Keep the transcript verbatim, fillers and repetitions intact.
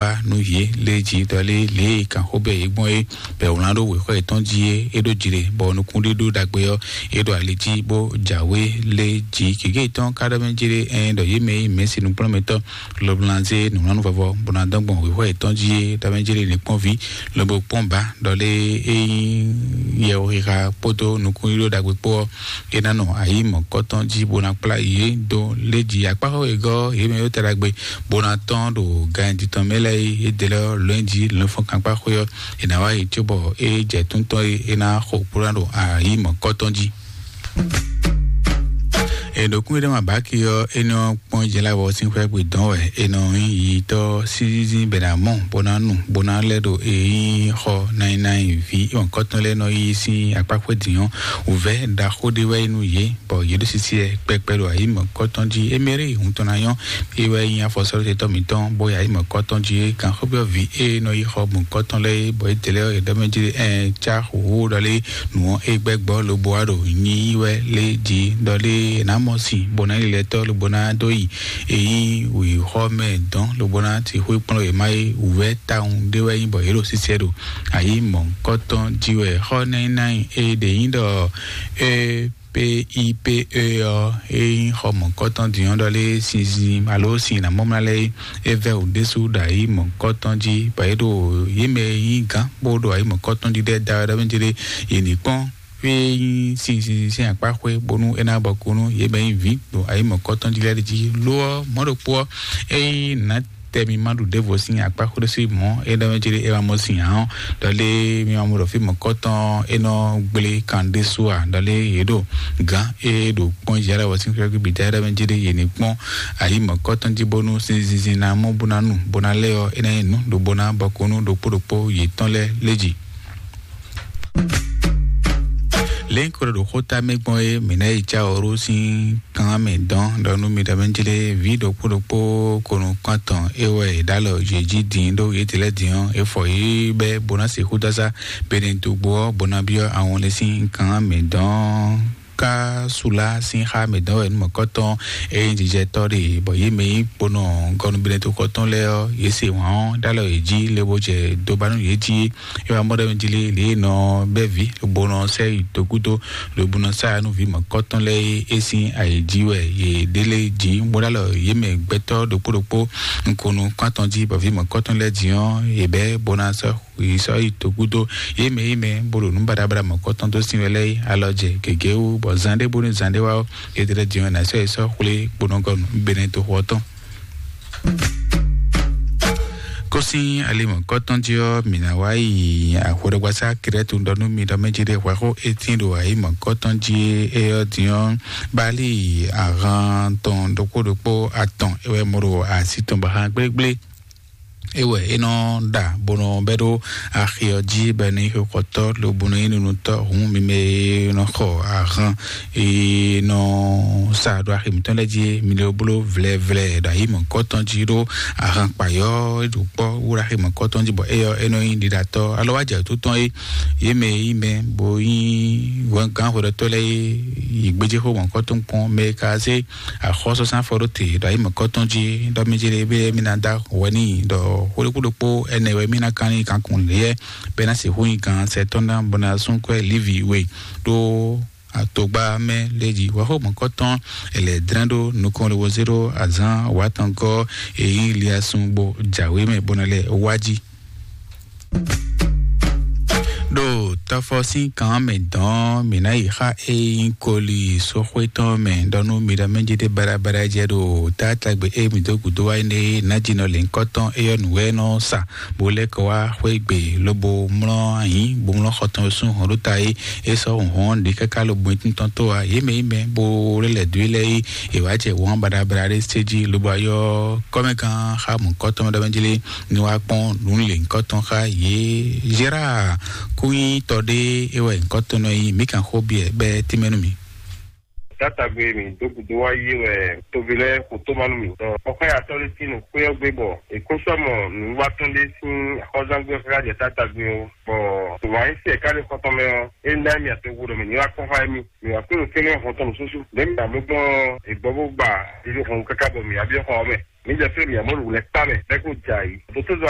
wá nú yě lé jí ɖɔ lé lě e kan xó bɛ yě gbɔn é bɛ wlán ɖó wěxɔ yětɔn jí é é ɖó jlé bɔ nukúnɖíɖó ɖagbe ɔ́ é ɖo ali jí bó jǎwe lé jí. Gěgé yětɔn ka ɖɔ mɛ jlé ɛn ɖɔ yě mɛ e mɛ̌si nukplɔ́nmɛtɔ́ loblanzé nǔwlánú vɔvɔ bó ná dɔn gbɔn wěxɔ yětɔn jí é ɖɔ mɛ jlé ní kpɔ́n ví lobo kpɔ́n ba ɖɔ lé é nyí yɛwúxixa kpódó nukúnɖíɖó ɖagbe kpó ɔ́ é ná nɔ ayǐ mɔ̌kɔtɔn jí bó ná kplá yě dó lé jí akpáxɔ wegɔ́ yě mɛ yó tɛ ɖagbe bó ná tɔ́n ɖo ganji tɔn mɛ lɛ́ɛ é dé lɛ́ lɔ̌n jí lɔ̌nfɔ́n kankpá xwé ɔ́ è nǎ wá yi cóbɔ é jɛ túntɔ́n é é ná xo kplá ɖo ayǐ mɔ̌kɔtɔn jí. Èɖokún ɖé ma bǎki ɔ́, é nɔ kpɔ́n jɛ lá wɔ sín xwɛ gbe dɔn wɛ é nɔ nyí yitɔ́ sízízí bɛ ná mɔ bó ná nu bó ná lɛ́ ɖo èyí xɔ náínnáín ví mɔ̌kɔtɔn lɛ́ɛ nɔ yí sín akpá xwé dǐn ɔ́, wǔvɛ́ ɖaxó ɖé wɛ é nú yě bɔ yě ɖo sisi ɛ kpɛkpɛ ɖo ayǐ mɔ̌kɔtɔn jí. Émɛ́rí hun tɔn ná nyɔ́ é wɛ nyí afɔsɔ́ɖótɛ́tɔ́ mǐtɔn bó yi ayǐ mɔ̌kɔtɔn jí é kan xó byɔ́ vǐ é nɔ yi xɔ mɔ̌kɔtɔn lɛ́ɛ é bɔ é dě lɛ́ ɔ́ yě ɖɔ mɛ jí ɛ cá xúxú ɖɔ lé nǔ ɔ́ é gbɛ́ gbɔ lobo wá ɖo nyí wɛ lé jí ɖɔ lé è nǎ mɔ sin bó ná yi lɛ́ tɔ́ lobo ná dó yi èyí wǐxɔ mɛ dɔn lobo ná ti xwé kplɔ́n yě má é wǔvɛ́ tawun ɖé wɛ nyí bɔ yě ɖo sisɛ ɖo ayǐ mɔ̌kɔtɔn jí wɛ xɔ nɛ́ nɛ́ é ɖě nyí ɖɔ é P I P E ɔ́ é nyí xɔ mɔ̌kɔtɔn din ɔ́ ɖɔ lé sinzin alo sin nǎ mɔ mlá lɛ́ɛ é vɛ́ wǔ ɖésú ɖo ayǐ mɔ̌kɔtɔn jí bɔ é ɖo yě mɛ e nyí gǎn bó ɖo ayǐ mɔ̌kɔtɔn jí ɖɛ́ da wɛ ɖɔ mɛ jí ɖé yě ní kpɔ́n fí e nyí sinzin sín akpá xwé bónú é ná bɔ kú nú yě mɛ e nyí vǐ ɖo ayǐ mɔ̌kɔtɔn jí lɛ́ɛ jí. Lo ɔ́, mɔ̌ ɖokpó ɔ́, é nyí nǎ tɛ mi ma ɖu ɖěvo sín akpá xwé ɖésú mɔ̌ é ɖɔ mɛ jí ɖé é ma mɔ sin ǎ ɔ́, ɖɔ lé mi ma mɔ ɖɔ fí mɔ̌kɔtɔn é nɔ gblé kan ɖésú ǎ, ɖɔ lé yě ɖo gǎn é ɖo kpɔ́n yǎ lɛ́ɛ wɔ sín xwé bǐ da é ɖɔ mɛ jí ɖé yě ní kpɔ́n ayǐ mɔ̌kɔtɔn jí bónú sinzin ná mɔ bó ná nu bó ná lɛ́ ɔ́ é ná nyí nǔ ɖo bó ná bɔ kó nú ɖokpó ɖokpó yětɔn lɛ́ɛ lé jí. Lěnko ɖo xóta mɛ gbɔn é mǐ ná yi cá ɔ́ ɖó sín kan mɛ dɔn ɖɔ nú mi ɖɔ mɛ jlé vǐ ɖokpó ɖokpó konu kɔntɔn é wɛ è ɖó alɔ yě jí din ɖó yě ti lɛ́ɛ din ɔ́, é fɔ yě bɛ́ bó ná sixú dásá bene dogbo ɔ́ bó ná byɔ́ awɔnlé sín kan mɛ dɔn. Ká sula sín xá mɛ dɔn wɛ nú mɔ̌kɔtɔn é nyí jijɛtɔ́ ɖe bɔ yě mɛ nyí kponɔ gɔnubinɛtoxɔtɔn lɛ́ɛ ɔ́, yě se wǎn ɔ́ ɖó alɔ yě jí lé bó jɛ dó ba nú yě jí. É wá mɔ ɖɔ mɛ jí lé lě e nɔ bɛ́ vǐ lobo nɔ sɛ yi dó gúdo lobo nɔ sá nú vǐ mɔ̌kɔtɔn lɛ́ɛ é sín ayǐ jí wɛ yě ɖélé jí bó ɖó alɔ yě mɛ gbɛtɔ́ ɖokpó ɖokpó nukunu kɔ́ntɔn jí bɔ vǐ mɔ̌kɔtɔn lɛ́ɛ jí ɔ́ yě bɛ́ bó ná sɔ́ yi sɔ́ yi dó gúdo yě mɛ yě mɛ bó ɖo nǔ baɖabaɖa mɔ̌kɔtɔn dó sín wɛ lɛ́ɛ alɔ jɛ gěgé wú bɔ zan ɖé bónú zan ɖé wá ɔ́ yě tlɛ jí ɔ́ ná sɔ́ yi sɔ́ xwlé kponɔgɔnu benɛtoxɔ tɔn. Kó sín ali mɔ̌kɔtɔn jí ɔ́, mǐ ná wá yi axweɖɔgbasá Krɛ́tu ɖɔ nú mi ɖɔ mɛ jí ɖé hwɛxó étín ɖo ayǐ mɔ̌kɔtɔn jí é ɔ́ din ɔ́, bali ahan tɔn ɖokpó ɖokpó atɔn é wɛ mɔ ɖo así tɔn ba hán gblégblé. É wɛ é nɔ ɖa bó nɔ bɛ́ ɖó axi ɔ́ jí bɔ é nɔ nyí xixɔtɔ́ lobo nɔ nyí nunutɔ́ hǔn mi mɛ e nɔ xɔ ahan e nɔ sa ɖo axi mǐtɔn lɛ́ɛ jí mi lɛ bló vlɛvlɛ ɖo ayǐ mɔ̌kɔtɔn jí ɖó ahan kpayɔ́ e ɖo kpɔ́ wú ɖo axi mɔ̌kɔtɔn jí bɔ éyɔ é nɔ nyí ɖiɖatɔ́ alɔ wá jɛ tó tɔn é yě mɛ e nyí mɛ bó nyí gǎnhwɛɖɔtɔ́ lɛ́ɛ é yi gbéjéxó mɔ̌kɔtɔn kpɔ́n mɛ e ka zé axɔ́sɔ́sán fɔ ɖó te ɖo ayǐ mɔ̌kɔtɔn jí ɖɔ mí jɛ ɖe ébé mí ná dó wɛ n'i ɖɔ xwéɖokpó ɖokpó ɛnɛ wɛ mí ná kán n'i kankun lě bɛ́ ná sixú nyi gǎn sɛtɔ́ ná bɔ ná sún kwɛ́ lívi we ɖó atogba mɛ lé jí wɛxó mɔ̌kɔtɔn èlɛ dlɛ́n ɖó nukɔn lé wozé ɖó azán wǎtɔn gɔ́ èyí liasun bó jǎwé mɛ bó ná lɛ wá jí. Ɖo tɔfɔ sín kan mɛ dɔn mǐ ná yi xa e nyí koli sóxwé tɔn mɛ ɖɔ nú mi ɖɔ mɛ jí ɖé baɖabaɖa jɛ ɖo tátágbe e mǐ dó gǔdo wá énɛ́ ná jí nɔ lě nyǐkɔ tɔn éyɔ́ nǔ wɛ nɔ sa bó lɛ́ kɔ wá xwé gbe lobo mlɔ́ ayǐ bó mlɔ́ xɔ tɔn sún hɔn ɖó ta é é sɔ́ hɔn ɖi káká lobo nyí tɔn tó a yě mɛ yí mɛ bó lɛ́ lɛ̌ dó é lɛ́ɛ é è wǎ jɛ wǎn baɖabaɖa ɖé sé jí lobo ayɔ kɔ́mɛgán xa mɔ̌kɔtɔn ɖɔ mɛ jí lé ní wá kpɔ́n nǔ lě nyǐkɔtɔn xá yě. Gérard kúnyítɔ ɖé é wɛ nyǐkɔtɔn nɔ nyí mǐ kan xó biɛ bɛ́ tínmɛ nú mì. Tátagbe mǐ dó gǔdo wá yí wɛ toví lɛ́ɛ xo tó ma nú mì. Xɔxɔ́yatɔ́ ɖé sín nǔ xwé ɔ́ gbé bɔ è kó sɔ́ mɔ nǔwiwa tɔn ɖé sín axɔ́zángbé ɔ́ káká jɛ tátagbe ɔ́, bɔ tòwáyísí ɛ ká ɖe xɔ tɔn mɛ ɔ́, é ná mì atoxo ɖɔ mǐ ní wá kpɔ́n xá émí. Mǐ wá kpé ɖo kɛ́nɛ́ hɔn tɔn nǔsúsú. Lě mǐ amú gbɔn è gbɔ bó gba ɖiɖó hɔn káká bɔ mǐ wá byɔ́ xɔ ɔ́ mɛ. Mi jɛ fí mi amɔ wulɛ kpa mɛ bɛ ko dza yi. Dotozɔ